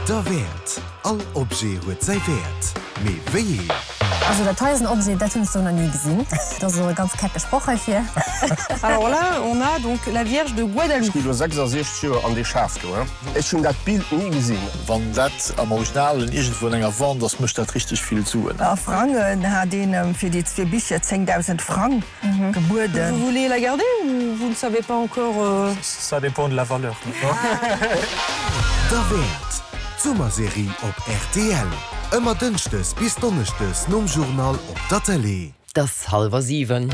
Derwäert! All Objet huet säi Wäert, mee wéi een? Also dat hei ass en Objet, dat hunn ech sou nach ni gesinn. Dat ass elo e ganz kecke Sproch heifir. Alors là, on a donc la Vierge de Guadalupe. Ech gi lo 66 Joer an dee Schaf do, he. Ech hunn dat Bild ni gesinn. Wann dat am Originalen iergendwou an enger Vente ass, mécht dat richteg vill Suen. A Frangen hat een em fir déi zwee Bicher 10.000 Frang gebueden. Vous voulez la garder ou vous ne savez pas encore? Ça dépend de la valeur. Derwäert! D'Summerserie op rtl. Ëmmer dënschdes bis donneschdes nom Journal op der Tëlee. Et ass hallwer 7.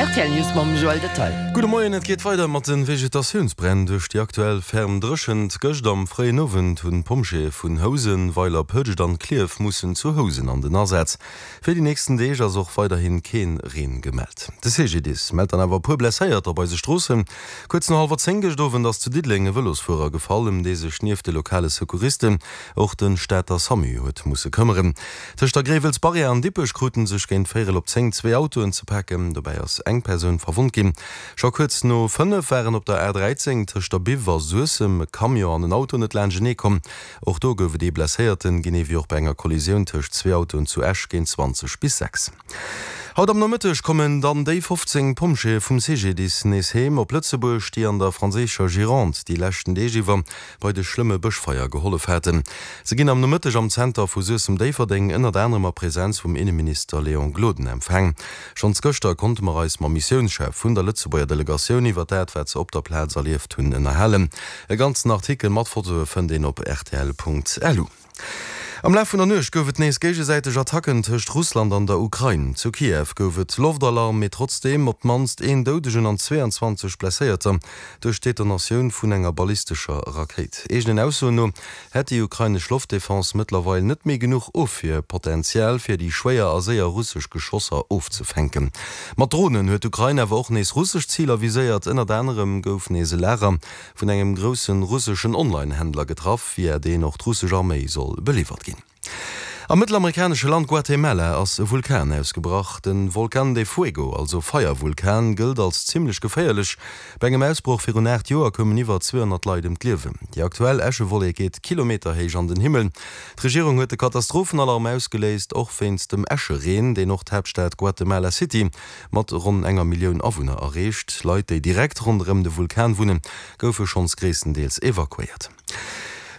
Rtl News mam Joël Detaille. Gudde Moien, et geet weider mat de Vegetatiounsbränn duerch déi aktuell ferm Dréchent. Gëscht am fréien Owend hunn d'Pompjeeë vun Housen, Weiler, Pëtscht an Klierf mussen zu Housen an den Asaz. Fir déi nächsten Deeg ass och weiderhi keen Reen gemellt. De CGDIS mellt dann awer e puer Blesséierter op eise Stroossen. Kuerz no hallwer 10 gëscht Owend ass zu Diddeleng e Vëlosfuerer gefall, ëm dee sech nieft de lokale Secouristen och de Stater Samu huet musse këmmeren. Tëscht der Gréiwels-Barrière an Dippech krute sech géint véierel op 10 zwee Autoen ze paken. Dobäi ass eng Persoun verwonnt ginn. Scho kuerz no 5 waren op der A13 tëscht der Biw a Suessem e Camion an en Auto net laanschtenee komm. Och do gouf et ee Blesséierten, genee wéi och bei enger Kollisioun tëscht zwee Autoen zu Esch géint 20 bis 6. Haut am Nomëtteg kommen dann déi 15 Pompjeeë vum CGDIS nees heem op Lëtzebuerg, déi an der franséischer Gironde déi leschten Deeg iwwer bei de schlëmme Bëschfeier gehollef haten. Se ginn am Nomëtteg am Zenter vu Suessem-Déifferdeng ënnert anerem a Presenz vum Inneminister Léon Gloden empfaang. Schonns gëschter konnte mer eis mam Missiounschef vun der Lëtzebuerger Delegatioun iwwer dat, wat se op der Plaz erlieft hunn, ënnerhalen. E ganzen Artikel mat Fotoe fënnt een op rtl.lu. Am Laf vun der Nuecht gouf et nees géigesäiteg Attacken tëscht Russland an der Ukrain. Zu Kiew gouf et Loftalarm, mee trotzdeem op d'mannst een Doudegen an 22 Blesséierter duerch d'Detonatioun vun enger ballistescher Rakéit. Eegenen Aussoen no hätt déi ukrainesch Loftdefense mëttlerweil net méi genuch Ofwierpotential, fir déi schwéier a séier russesch Geschosser ofzefänken. Mat Dronen huet d'Ukrain awer och nees russesch Ziler viséiert. Ënnert anerem gouf nees e Lager vun engem grousse russeschen Online-Händler getraff, via deen och d'russesch Arméi soll beliwwert ginn. Am mëttelamerikanesche Land Guatemala ass e Vulkan ausgebrach. De Volcán de Fuego, also Feiervulkan, gëllt als zimmlech geféierlech. Bei engem Ausbroch virun 8 Joer koumen iwwer 200 Leit ëm d'Liewen. Déi aktuell Äschewollek geet kilometerhéich an den Himmel. D'Regierung huet de Katastrophenalarm ausgeléist, och wéinst dem Äschereen, deen och d'Haaptstad Guatemala City mat ronn enger Millioun Awunner erreecht. Leit, déi direkt ronderëm de Vulkan wunnen, goufe schonns gréisstendeels evakuéiert.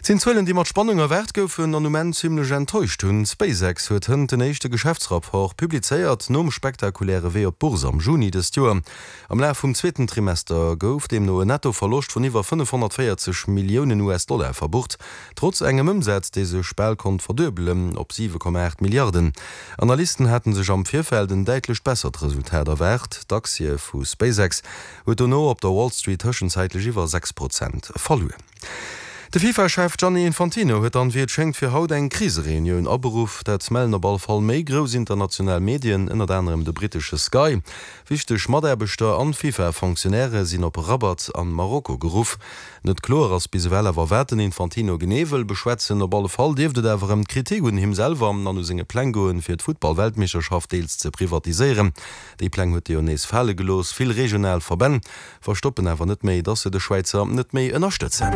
Et sinn Zuelen, déi mat Spannung erwaart goufen an um Enn zimmlech enttäuscht hunn. SpaceX huet hënt den éischte Geschäftsrapport publizéiert, nom spektakuläre Wee op d'Bourse am Juni dëst Joer. Am Laf vum zweeten Trimester gouf deemno en Netto-Verloscht vun iwwer 540 Milliounen US-Dollar verbucht, trotz engem Ëmsaz, dee sech bal konnt verduebelen op 7,8 Milliarden. Analysten haten sech am Virfeld en däitlecht bessert Resultat erwaart. D'Aktie vu SpaceX huet dono op der Wall Street tëschenzäitlech iwwer 6 Prozent verluer. De FIFA-Chef Gianni Infantino huet dann, wéi et schéngt, fir haut eng Krisereunioun aberuff. Dat mellen op all Fall méi grouss international Medien, ënnert anerem de brittesche Sky. Wichteg Mataarbechter an FIFA-Fonctionnairë sinn op Rabat an Marokko geruff. Net kloer ass bis ewell awer, wat den Infantino genee wëll beschwätzen. Op alle Fall dierft et awer ëm d'Kritik un him selwer an u senge Pläng goen, fir d'Futtball-Weltmeeschterschaft deels ze privatiséieren. Déi Pläng huet e jo nees fale gelooss. Vill regional Verbänn verstoppen awer net méi, dass se de Schwäizer net méi ënnerstëtzen.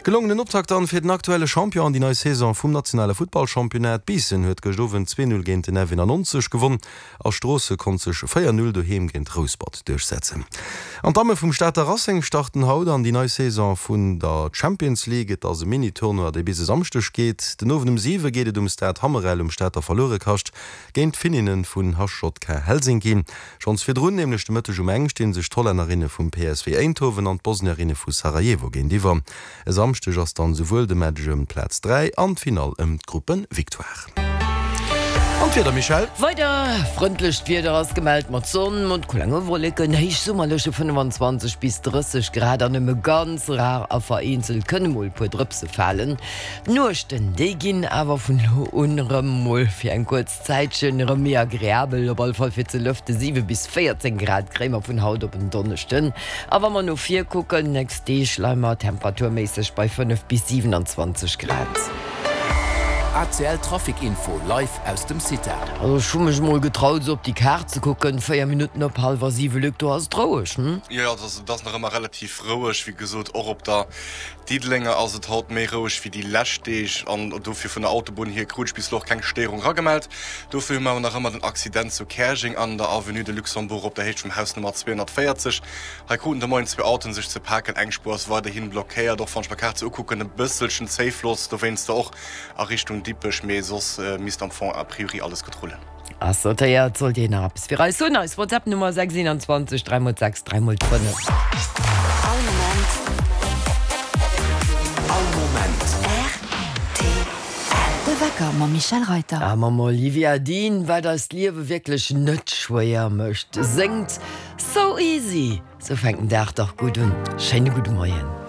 Gelongenen Optakt dann fir den aktuelle Champion an déi nei Saison vum nationale Futtballchampionnat. Biissen huet gëscht Owend 2, 0 géint den F91 gewonn. A Stroosse konnt sech 4, 0 doheem géint Rouspert duerchsetzen. An d'Damme vum Stater Racing starten haut an déi nei Saison vun der Champions League. Et ass e Mini-Tournoi, dee bis e Samschdeg geet. Den Owend um 7 geet et um Stade Hammerel um Stater Verluerekascht géint d'Finninne vun HJK Helsinki. Schonns virdrun, nämlech de Mëtteg um eng, sti sech d'Hollännerinne vum PSV Eindhoven an d'Bosnierinne vu Sarajevo géintiwwer. E Samschdeg ass dann souwuel de Match ëm d'Plaz 3 an d'Finall ëm d'Gruppevictoire. An d'Wieder, Michèle? Weider frëndlecht Wieder ass gemellt mat Sonn, mat klenge Wolleken, héichsummerleche 25 bis 30 Grad an nëmme ganz rar a vereenzelt kënne mol e puer Drëpse falen. D'Nuechten, déi ginn awer vun elo un erëm mol fir eng kuerz Zäitchen erëm méi agreabel, op alle Fall fir ze lëften. 7 bis 14 Grad kréie mer vun haut op en Donneschden. A wa mer no vir kucken, nächst Deeg leie mer temperaturméisseg bei 5 bis 27 Grad. ACL Trafic Info live aus dem CITA. Also ech hu mech mol getraut esou op déi Kaart ze kucken, 4 Minutten op hallwer 7, Luc, do ass et roueg, hm? Jo, jo, et ass nach ëmmer relativ roueg. Wéi gesot, och op der Diddelenger ass et haut méi roueg wéi déi lescht Deeg an dofir vun der Autobunn hier krut ech bis elo och keng Stéierung eragemellt. Dofir hu mer awer nach ëmmer den Accident zu Käerjeng an der Avenue de Luxembourg op der Héicht vum Haus Nummer 240. Hei kruten de Moien zwee Autoen sech ze paken. Eng Spuer ass weiderhi blockéiert, och wann ech mer d'Kaart sou ukucken, e bësselchen Zéifloss dowéinster och a Richtung Dippech, mee soss misst am Fong a priori alles gutt rullen. Ass notéiert. Sollt Dir nach eppes fir eis hunn, eis WhatsApp Nummer 6 21 3 mol 6 3 mol 5. All Moment. All Moment. Rtl. De Wecker mam Michèle Reyter. A mam Olivia Dean, wat eist Liewe wierklech net schwéier mécht, séngt So Easy. Sou fänkt den Dag dach gutt un. Schéine gudde Moien.